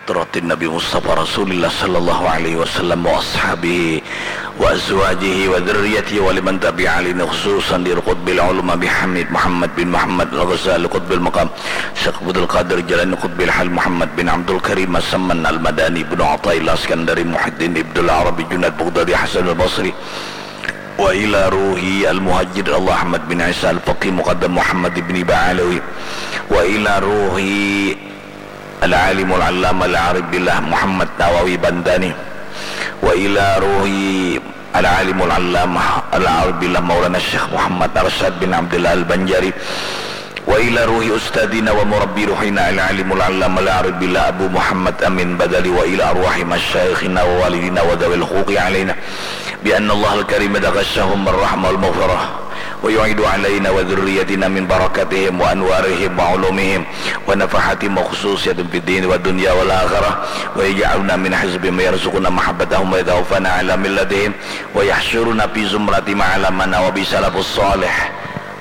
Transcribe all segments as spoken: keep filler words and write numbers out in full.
Hadratin Nabi Mustafa Rasulillah sallallahu alaihi wasallam wa ashabihi wa azwajihi wa dzurriyyatihi wa liman tabi'a lin khususan di Qutbil Ulum Abi Hamid Muhammad bin Muhammad Al-Ghazali Qutbil Maqam Syekh Abdul Qadir Jalani Qutbil Hal Muhammad bin Abdul Karim As-Samman Al-Madani Ibnu Athaillah Iskandari Muhyiddin Ibnul Arabi Junaid Baghdadi Hasan Al-Basri wa ila ruhi Al-Muhajir Allah Ahmad bin Isa Al-Faqih Muqaddam Muhammad ibni Ba'alawi wa ila ruhi Al-Alimul Allamah Al-Arif Billah Muhammad Nawawi Bantani wa ila ruhi Al-Alimul Allamah Al-Arif Billah Maulana Syekh Muhammad Arsyad bin Abdullah Al-Banjari wa ila ruhi ustadzina wa murabbi ruhina Al-Alimul Allamah Al-Arif Billah Abu Muhammad Amin Badali wa ila arwahi masyayikhina wa walidina wa dzawil huquqi alaina bi anna Allahal Karim yataghashahum bir rahmah wal maghfirah wa yu'idu alaina wa dzurriyyatina min barakatihim wa anwarihim wa ulumihim wa nafahatihim wa khususiyatin fid din wa dunya wal akhirah wa yaj'alna min hizbihim wa yarzuqna mahabbatahum wa yatawaffana ala millatihim wa yahsyuruna fi zumrati ma'ala man wa bi salafus salih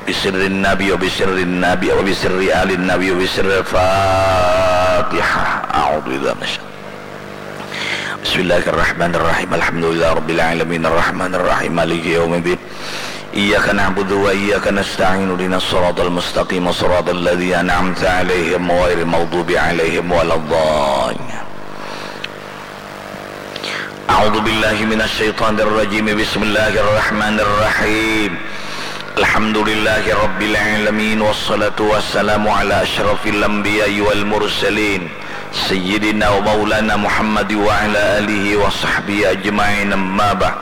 bi sirrin nabi wa bi sirrin nabi wa bi sirri alin nabi wa bi sirril Fatihah. A'udzu billahi minasy Bismillahirrahmanirrahim. Alhamdulillah rabbil alamin. Arrahmanirrahim. Maliki yaumiddin. Iyyaka na'budu wa iyyaka nasta'in. Ihdinas siratal mustaqim. Siratal ladzina an'amta 'alaihim ghairil maghdubi 'alaihim waladdallin. A'udzu billahi minasy syaithanir rajim. Bismillahirrahmanirrahim. Alhamdulillahi rabbil alamin wassalatu wassalamu ala asyrafil anbiya'i wal mursalin. Sayyidina wa maulana Muhammad wa ala alihi wa sahbihi ajma'in, amma ba'd.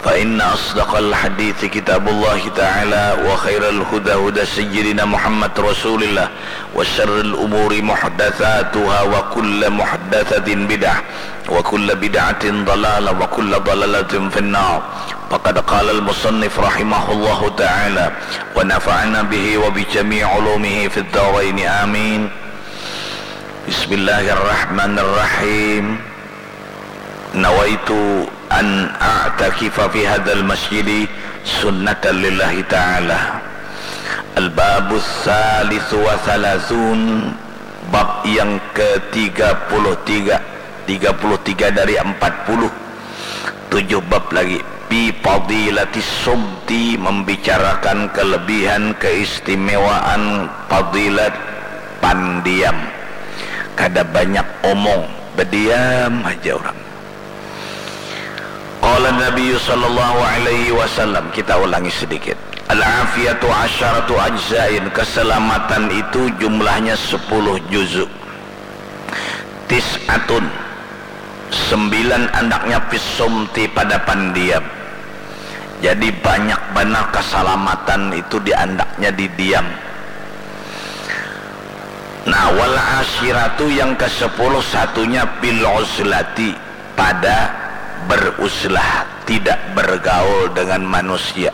Fa inna asdaqal hadithi kitabullahi ta'ala wa khairal huda huda sayyidina Muhammad rasulillah wa syarril umuri muhdatsatuha wa kullu muhdatsatin bid'ah wa kullu bid'atin dalalah wa kullu dalalatin finnar. Faqad qala al-musannif rahimahullahu ta'ala wa nafa'ana bihi wa bi jami'i ulumihi fid daraini amin. Bismillahirrahmanirrahim. Nawaitu an a'takifa fi hadzal masjidi sunnatan lillahi ta'ala. Al-babus salisu wa salatsun, bab yang ketiga puluh tiga, tiga puluh tiga dari empat puluh, tujuh bab lagi. Fi fadilatis sumti, membicarakan kelebihan keistimewaan fadilat pandiam. Kada banyak omong, bediam haja urang. Qala Nabiyyu sallallahu alaihi wasallam, kita ulangi sedikit. Al-afiyatu asyaratu ajzain, keselamatan itu jumlahnya sepuluh juzuk. Tis'atun, sembilan andaknya fis sumti pada pandiam. Jadi banyak banar keselamatan itu di andaknya di diam. Nah, wal asyiratu yang kesepuluh satunya fil uzlati, pada beruzlah, tidak bergaul dengan manusia.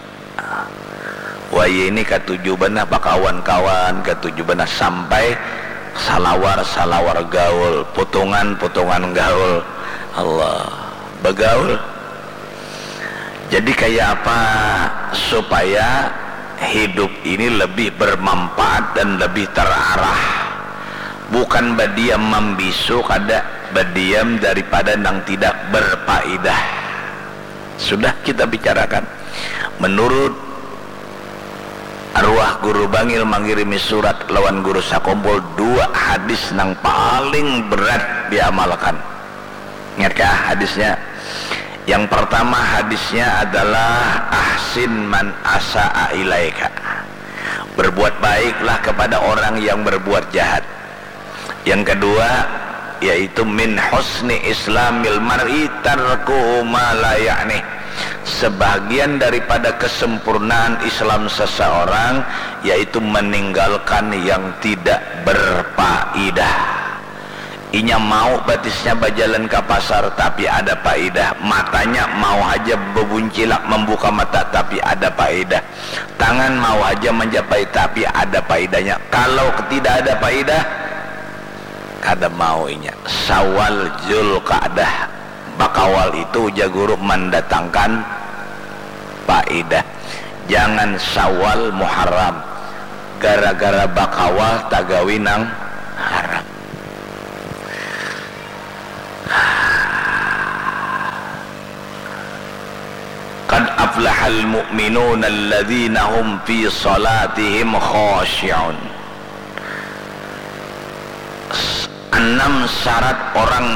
Wahini katuju banar bakawan-kawan, katuju banar sampai salawar-salawar gaul, putungan-putungan gaul. Allah, bagaul. Jadi kaya apa supaya hidup ini lebih bermanfaat dan lebih terarah? Bukan badiam mambisu, kada, badiam daripada nang tidak berfaedah. Sudah kita bicarakan. Menurut arwah Guru Bangil mangirimi surat lawan Guru Sakumpul, dua hadis nang paling berat diamalkan. Ingat kah hadisnya? Yang pertama hadisnya adalah ahsin man asa'a ilaika. Berbuat baiklah kepada orang yang berbuat jahat. Yang kedua yaitu min husni islamil mar'i tarkuhu ma la ya'ni. Sebahagian daripada kesempurnaan Islam seseorang yaitu meninggalkan yang tidak berfaedah. Inya mau batisnya bajalan ka pasar tapi ada paedah, matanya mau haja babuncilak mambuka mata tapi ada paedah, tangan mau haja manjapai tapi ada paedahnya. Kalau tidak ada paedah, kada mau inya. Syawal, Zulqa'dah, bakawal itu ujar guru mandatangkan paedah. Jangan Syawal, Muharram, gara-gara bakawal tagawi nang haram. aflahal mu'minun alladzina hum fi salatihim khashi'un. Enam syarat orang